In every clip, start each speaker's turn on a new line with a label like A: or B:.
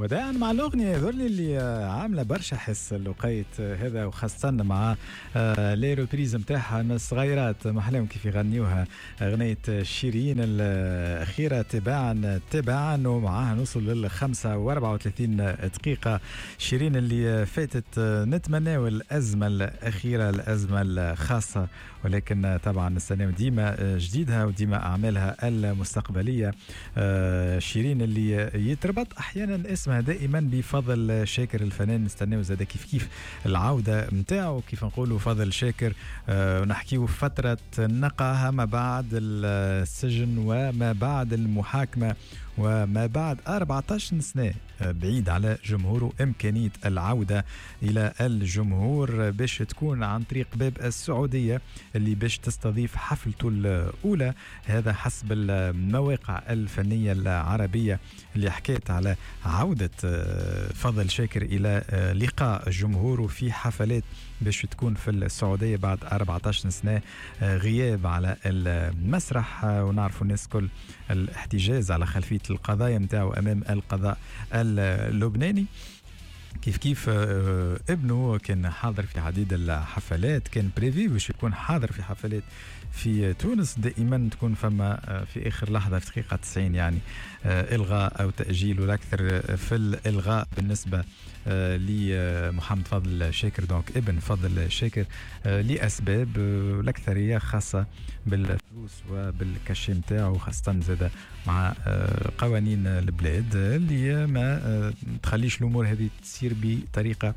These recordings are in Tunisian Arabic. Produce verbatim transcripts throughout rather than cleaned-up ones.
A: وداعا مع الاغنية هذول اللي عامله برشا حس الوقيت هذا، وخاصة مع آه، les reprises نتاعها من الصغيرات محلاهم كيف يغنيوها اغنية شيرين الاخيرة تباعا تباعا، ومعاها نوصل لل خمسة وأربعة وثلاثين دقيقه. شيرين اللي فاتت، نتمناو الازمة الاخيره، الازمة الخاصه، ولكن طبعا نستناو ديما جديدها وديما اعمالها المستقبليه. آه، شيرين اللي يتربط احيانا اسمها دائما بفضل شاكر الفنان، نستناو زاد كيف كيف العودة نتاعو. كيف نقولوا فضل شاكر آه، ونحكيو فترة نقاهه ما بعد السجن وما بعد المحاكمة وما بعد أربعة عشر سنة بعيد على جمهوره، إمكانية العودة إلى الجمهور باش تكون عن طريق باب السعودية اللي باش تستضيف حفلته الأولى. هذا حسب المواقع الفنية العربية اللي حكيت على عودة آه، فضل شاكر إلى آه، لقاء جمهوره في حفلات باش تكون في السعودية بعد أربعة عشر سنة آه، غياب على المسرح. ونعرفوا الناس كل الاحتجاز على خلفية القضايا نتاعو أمام القضاء اللبناني. كيف كيف آه، ابنه كان حاضر في عديد الحفلات، كان prévu باش يكون حاضر في حفلات في تونس، دائما تكون فما آه، في اخر لحظه، في دقيقة تسعين يعني آه، الغاء او تاجيل، والاكثر في الالغاء بالنسبة لمحمد فضل شاكر، donc ابن فضل شاكر، لاسباب الاكثرية خاصة بالفلوس وبال cachet نتاعو، خاصة زاد مع قوانين البلاد اللي ما تخليش الامور هذه تصير بطريقة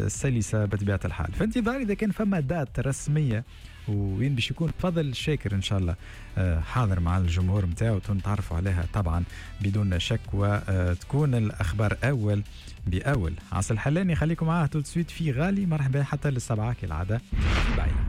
A: سلسه بطبيعة الحال. في انتظار اذا كان فما date رسمية وين باش يكون فضل شاكر ان شاء الله آه، حاضر مع الجمهور نتاعو، نتعرفوا عليها طبعا بدون شك وتكون الاخبار اول باول. عاصي الحلاني خليكم معاه tout de suite في غالي. مرحبا حتى للسبعه كالعادة في بايلة.